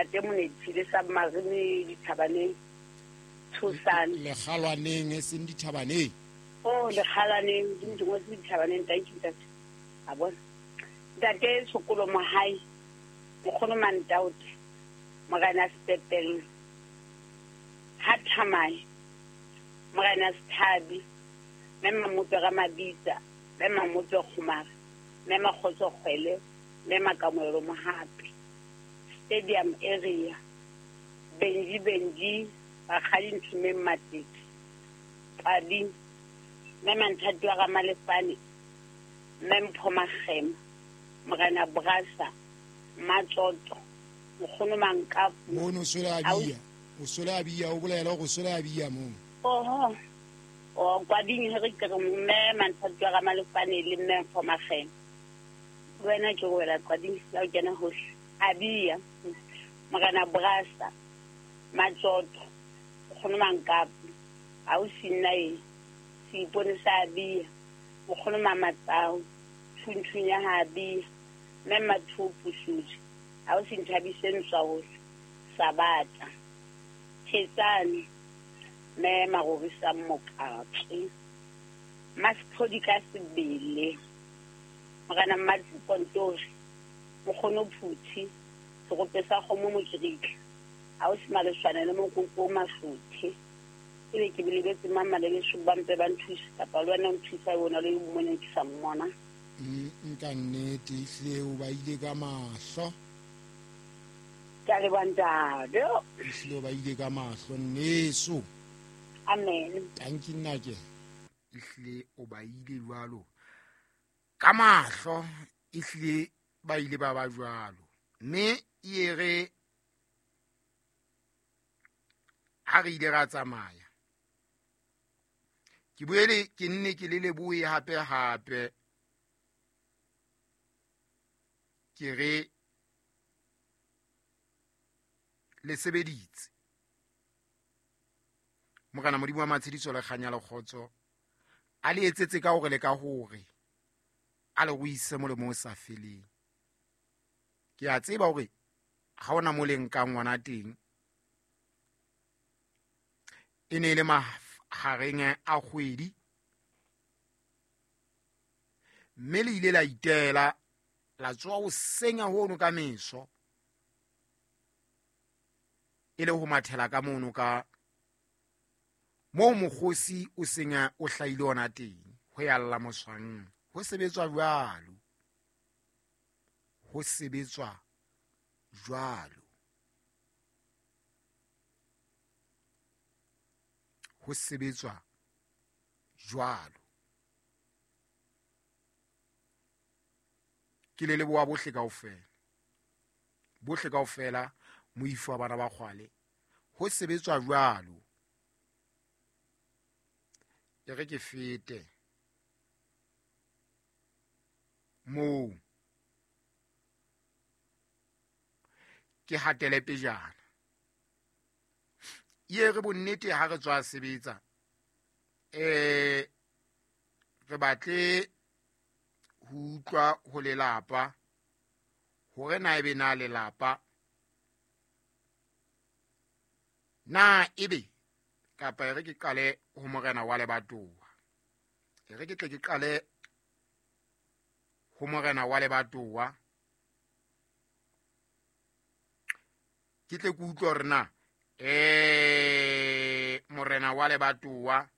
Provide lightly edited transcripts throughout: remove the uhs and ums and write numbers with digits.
Ntate Monetsi le Submarine dithabaneng. Thusane. Lekgalwaneng e seng dithabaneng. Oh, lekgalwaneng, di di ngotse dithabaneng, thank you ntate. A bona. Ntate Tshokolo Mohai, Nkgono Mantaote, Morena Sepepelo, Ha Thamae, Morena Sethabi, Mme Mamope Ramabitsa, Mme Mamope Kgomare, Mme Makgotso Kgwele, Mme Makamoelo Mohapi. Stadium area, Benji Benji, Rakgadi Nthumeng Matete, Qadi, Mme Manthati wa Ramalefane, Mme Mpho Makgema, Morena Brasa, Mmatsoto, Nkgono Mankapu. Mono o swele a bia, o swele a bia, o bolela hore o swele a bia moo. Oho, o Kwading he re ke re Mme Manthati wa Ramalefane le Mme Mpho Makgema. Le wena ke wela Qading ya o kena hohle. A bia, Morena Brasa, Matsoto, Nkgono Mankapu, ausi nna e, Seipone sa Abia, Nkgono Mamatsau, Thunthung ya ha Abia, Mme Mmathuo Pusudi, ausi Nthabise Ntswahohle, Sabata, Thetsane, Mme Marorisang Mokatswe, Mmasephodi ka sebele, Morena Mmatsepo Ntori, Nkgono Phuthi, Serope sa kgomo Mokirikla, ausi Maleswane le Mokoko Mahlothe. Ebe ke lebetse mang maleleso ba mpe ba nthuse kapa le wena o nthusa o na le mmoneng ke sa mmona. Nka nnete ehlile o ba ile ka mahlo. Ke a leboha ntate. Ehlile o ba ile ka mahlo nneso. Amen. Tanki nnake. Ehlile o ba ile jwalo ka mahlo, ehlile ba ile ba ba jwalo. Mme e re ha re ile ra tsamaya, ke boele ke nne ke le lebohe hape hape, ke re le sebeditse. Morena Modimo wa matshediso le kganya le kgotso a le etsetse ka hore le ka hore a le ruise molemo o sa feleng. Ke a tseba hore ha ona mo le nkang ngwana teng, e ne e le mahareng a kgwedi, mme le ile la itela la tsoha hoseng hono ka meso, e le ho mathela ka mono ka moo mokgosi o seng o hlahile ona teng, ho ya lla moswang. Ho sebetswa jwalo, ho sebetswa jwalo, ho sebetswa jwalo. Ke le leboha bohle kaofela, bohle kaofela, moifo wa bana ba kgwale. Ho sebetswa jwalo. E re ke fete moo ke hatele pejana. Ye re bonnete ha re tswa sebetsa, re batle ho utlwa ho lelapa hore na ebe na lelapa na ebe kapa e re ke qale ho morena wa lebatowa, e re ke tle ke qale ho morena wa lebatowa, ke tle ke utlwe hore na morena wa lebatowa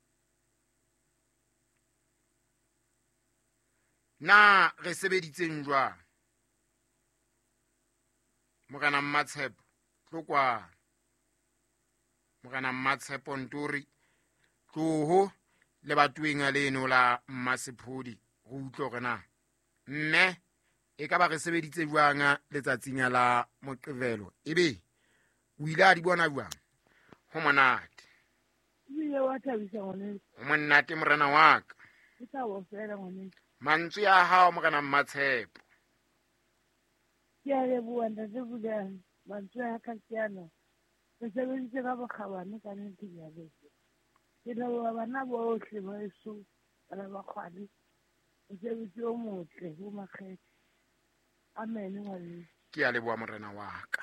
na re sebeditseng jwang. Morena Mmatshepo tlo kwana, Morena Mmatshepo Ntori tloho lebatoweng leno la Mmasephodi, re utlwe hore na mme e ka ba re sebeditse jwang letsatsing la Moqebelo, ebe o ile a di bona jwang. Ho monate. Ebile wa thabisa ngwaneso. Ho monate morena wa ka. Ke thabo fela ngwaneso. Mantswe a hao morena Mmatshepo. Ke a leboha ntate Pulane. Mantswe a ka ke ana. Re sebeditse ka bokgabane ka nnete ke a leboha. Ke leboha bana bohle ba heso, bana ba kgwale. Mosebetsi o motle bo makgethe. Amen ngwaneso. Ke a leboha morena wa ka.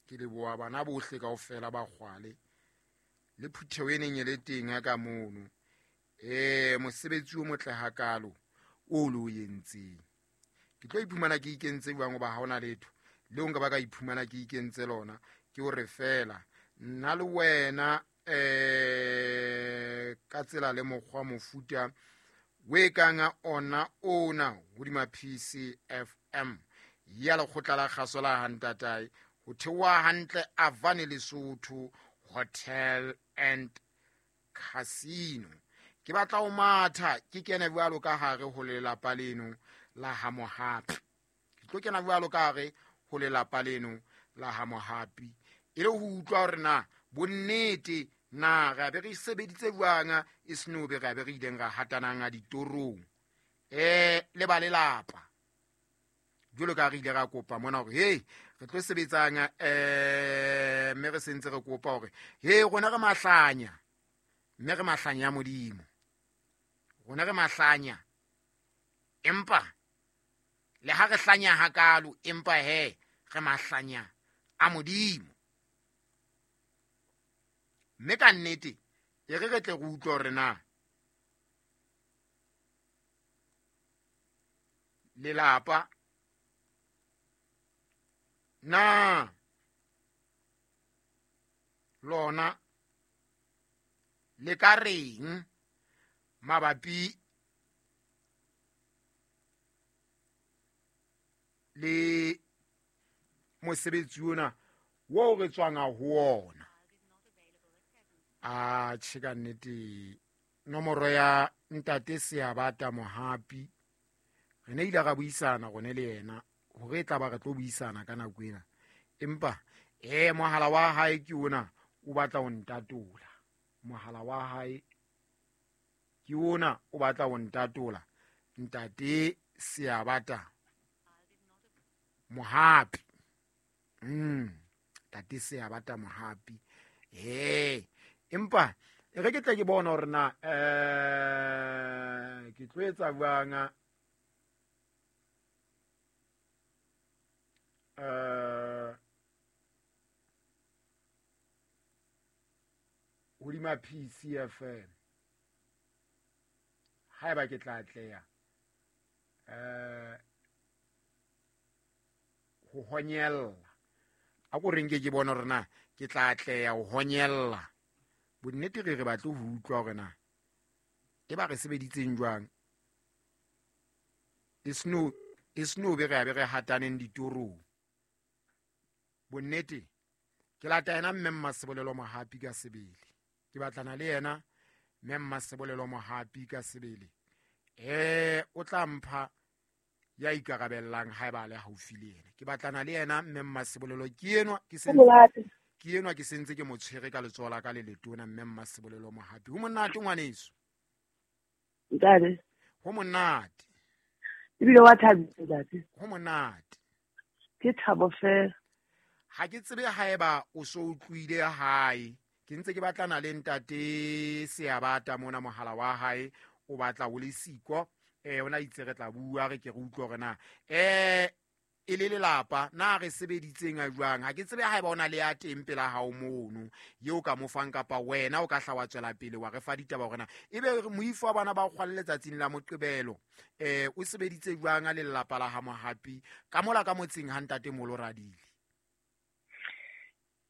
Ke leboha bana bohle kaofela ba Kgwale le phutheho e neng e le teng ka mono. Mosebetsi o motle hakalo o lo entseng. Ke tlo iphumana ke ikentse jwang hoba ha hona letho leo nka ba ka iphumana ke ikentse lona, ke hore fela nna le wena ka tsela le mokgwa mofuta we kang ona ona hodima PCFM ya lekgotla la kgaso la Hantatae ho theoha hantle Avane Lesotho Hotel and Casino. Ke batla ho matha ke kene jwalo ka hare ho lelapa leno la ha Mohapi. Ke tlo kena jwalo ka hare ho lelapa leno la ha Mohapi e le ho utlwa hore na bonnete na re be re sebeditse jwang e seno be re be re ileng ra hatanang a ditorong le ba lelapa. Jwalo ka re ile ra kopa mona hore hey re tlo sebetsang mme re sentse re kopa hore hey rona re mahlanya, mme re mahlanya Modimo, rona re mahlanya, empa le ha re hlanya hakalo empa he re mahlanya a Modimo. Mme ka nnete e re re tle re utlwe hore na lelapa na lona le ka reng mabapi le mosebetsi ona wo re tswang ho ona. A tjhe ka nnete nomoro ya ntate Seabata Mohapi re ne ile ra buisana rone le yena hore e tla ba re tlo buisana ka nako ena, empa mohala wa hae ke ona o batla ho ntatola. Mohala wa hae ke ona o batla ho ntatola, ntate Seabata Mohapi. Ntate Seabata Mohapi. Empa e re ke tle ke bona hore na ke tlo etsa jwang hodima PCFM haeba ke tla atleha ho honyella. A ko reng ke bona hore na ke tla atleha ho honyella. Bonnete re batle ho utlwa hore na e ba re sebeditseng jwang e sno be re be re hataneng ditorong. Bonnete ke lata yena mme Mmasebolelo Mohapi ka sebele. Ke batlana le yena mme Mmasebolelo Mohapi ka sebele. O tla mpha ya ikarabellang haeba a le haufi le yena. Ke batlana le yena mme Mmasebolelo ke enwa ke sentse ke enwa ke sentse ke mo tshwere ka letsoho la ka le letona mme Mmasebolelo Mohapi. Ho monate ngwaneso. Ntate. Ho monate. Ebile wa thabisa ntate. Ho monate. Ke thabo fela. Ha ke tsebe haeba o so utlwile hae. Ke ntse ke batlana le ntate Seabata mona mohala wa hae o batla o le siko. Ona itse re tla bua re ke re utlwe hore na e le lelapa na re sebeditseng a jwang. Ha ke tsebe haeba ona le ya teng pela hao mono yeo ka mo fang kapa wena o ka hla wa tswela pele wa re fa ditaba hore na ebe moifo wa bana ba kgwale letsatsing la Moqebelo o sebeditse jwang a le lelapa la ha Mohapi ka mola ka motseng ha ntate Molo Radile.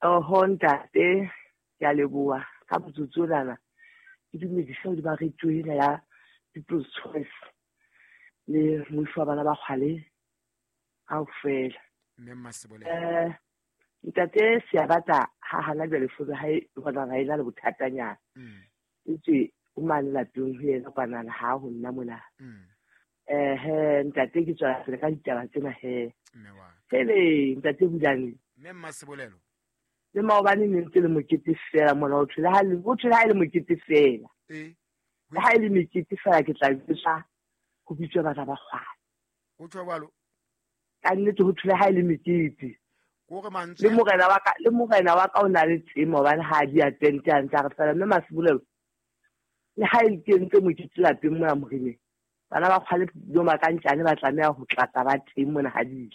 Oho ntate, ke a leboha ka motsotso ona. Ke dumedisa hodima radio ena ya People's Choice le moifo wa bana ba kgwale kaofela. Mme Mmasebolelo. Ntate Seabata ha hana jwale fono hae bona ha ena le bothatanyana. Etswe o mane lapeng ho yena kwanana ha ho nna mona. Ntate ke tswela pele ka ditaba tsena he. Mme wa. Hele ntate Bulane. Mme Mmasebolelo. Le maobane ne ntse le mokete fela mona o thole ha le o thole ha le mokete fela. Le ha le mekete fela ke tla bitsa ho bitswa bana ba kgwale. Ho thwe jwalo. Ka nnete ho thole ha le mekete. Kore mantswe le morena wa ka le morena wa ka o na le tsemo hobane ha di a tente a ntse a re fela mme Mmasebolelo le ha e kentse mokete lapeng mona moreneng. Bana ba kgwale do makantjane ba tlameha ho tlatsa ba teng mona ha di.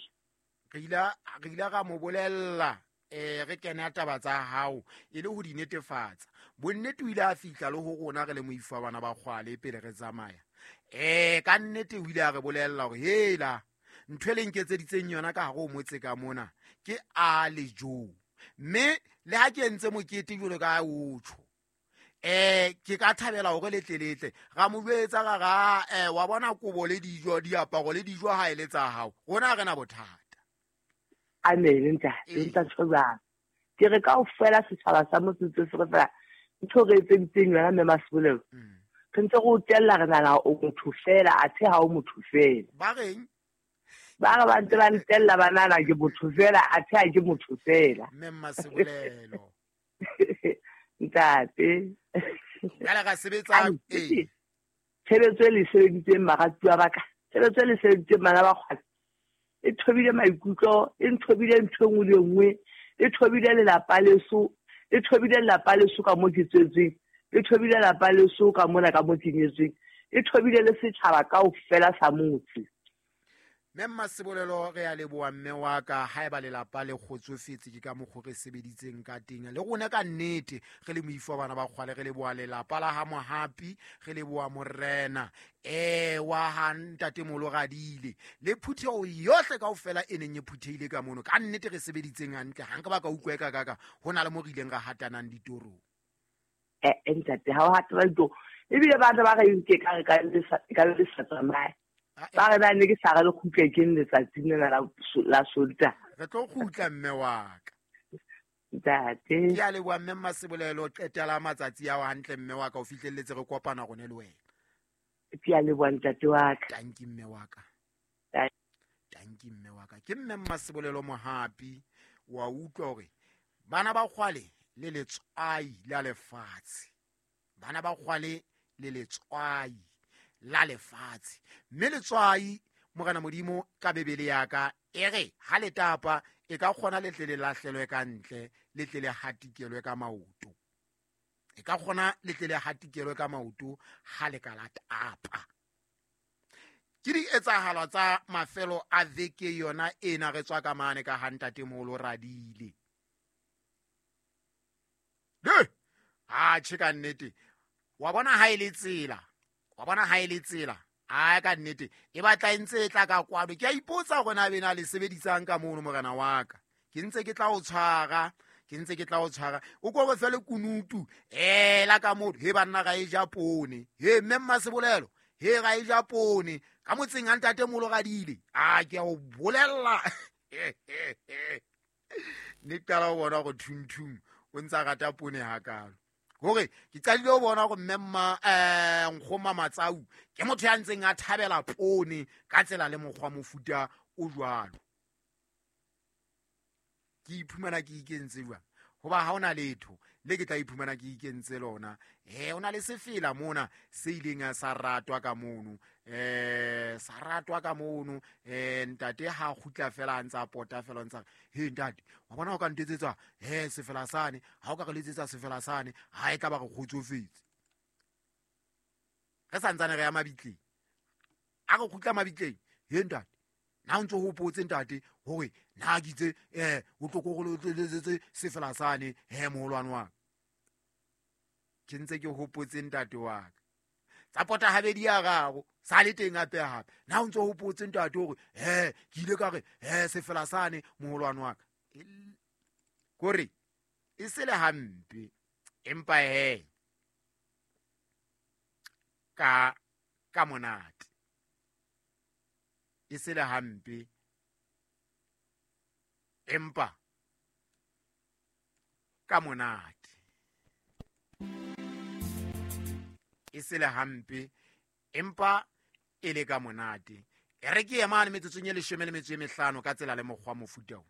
Re ile ra mo bolella Re kena taba tsa hao e le ho di netefatsa. Bonnete o ile a fihla le ho rona re le moifo wa bana ba kgwale pele re tsamaya. Ka nnete o ile a re bolella hore hela ntho e le nketseditseng yona ka hare ho motse ka mona ke a le jo. Mme le ha ke entse mokete jwalo ka o tjho, ke ka thabela hore letle ra mo jwetsa ra ra wa bona kobo le dijo, diaparo le dijo ha e le tsa hao, rona ha re na bothata. Amen, ntate, ntate jwang. Ke re kaofela setjhaba sa motse se re fela ntho re etseditseng yona mme Masebolelo. Re ntse re o tella re nahana o motho fela, athe ha o motho fela. Ba reng? Ba re ba ntse ba ntella ba nahana ke motho fela, athe ha ke motho fela. Mme Masebolelo. Ntate. Jwale ra sebetsa, ee. Tshebetso e le sebeditseng baratuwa ba ka, tshebetso e le sebeditseng bana ba kgwale, e thobile maikutlo, e nthobile ntho e nngwe le e nngwe, e thobile lelapa leso, e thobile lelapa leso ka mo ke tswetsweng, e thobile lelapa leso ka mona ka mo ke nyetsweng, e thobile le setjhaba kaofela sa motse. Mme Masebolelo, re a leboha mme wa ka. Haeba lelapa le kgotsofetse ke ka mokgwa re sebeditseng ka teng, le rona ka nnete re le moifo wa bana ba kgwale, re leboha lelapa la ha Mohapi, re leboha morena wa ha ntatemoholo Radile le phutheho yohle kaofela e neng e phuthehile ka mono. Ka nnete re sebeditseng hantle, ha nka ba ka utlwa e ka kaka ho na le mo re ileng ra hatanang ditorong. Ntate, ha o hatana ditorong, ebile batho ba re nke ka re ka le sa tsamaye. Ba re ba ne ke sa re le kgutle ke letsatsing lena la Sontaha. Re tlo kgutla mme wa ka. Ntate. Ke a leboha mme Masebolelo, qetela matsatsi ao hantle mme wa ka, o fihlelletse re kopana rone le wena. Ke a leboha ntate wa ka. Tanki mme wa ka. Tanki mme wa ka. Ke mme Masebolelo Mohapi, wa utlwa hore bana ba kgwale le letswai la lefatshe. Bana ba kgwale le letswai la lefatshe. Mme letswai, Morena Modimo ka Bibele ya ka e re ha le tapa e ka kgona le tle le lahlelwe ka ntle, le tle le hatikelwe ka maoto. E ka kgona le tle le hatikelwe ka maoto ha le ka la tapa. Ke di etsahalo tsa mafelo a veke yona ena re tswa ka mane ka ha ntatemoholo Radile. Ha tjhe ka nnete. Wa bona ha e le tsela. Wa bona ha e le tsela. A ka nnete e batla e ntse e tla ka kwano. Ke a ipotsa hore na bena le sebedisang ka mono morena wa ka. Ke ntse ke tla o tshwara, ke ntse ke tla o tshwara. O ko re fele kunutu la ka mono. He banna ra e ja poone. He mme Masebolelo, he ra e ja poone. Ka motseng a ntatemoholo Radile. A ke a o bolella. Ne qala ho bona hore thunthung o ntsa rata poone hakalo. Hore ke qadile ho bona hore mme mma Nkgoma Matsau ke motho ya ntseng a thabela poone ka tsela le mokgwa mofuta o jwalo. Ke iphumana ke ikentse jwang? Hoba ha hona letho le ke tla iphumana ke ikentse lona. O na le sefela mona se ileng sa ratwa ka mono. Sa ratwa ka mono. Ntate ha kgutla fela a ntsa pota fela ntsa he ntate, wa bona o ka ntetsetsa sefela sane, ha o ka re letsetsa sefela sane, ha e tla ba re kgotsofetse. Re santsane re ya mabitleng. A re kgutla mabitleng, he ntate, na o ntso hopotse ntate hore na ke itse o tlo ko re letsetse sefela sane, he moholwane wa ka. Ke ntse ke hopotse ntate wa ka. Tsa pota habedi ya raro, sa le teng hape hape. Na o ntso hopotse ntate hore ke ile ka re sefela sane moholwane wa ka. Kore e se le hampe, empa he ka monate. E se le hampe, empa ka monate. E se le hampe, empa e le ka monate. E re ke emane metsotsong e 15 ka tsela le mokgwa mofuta o.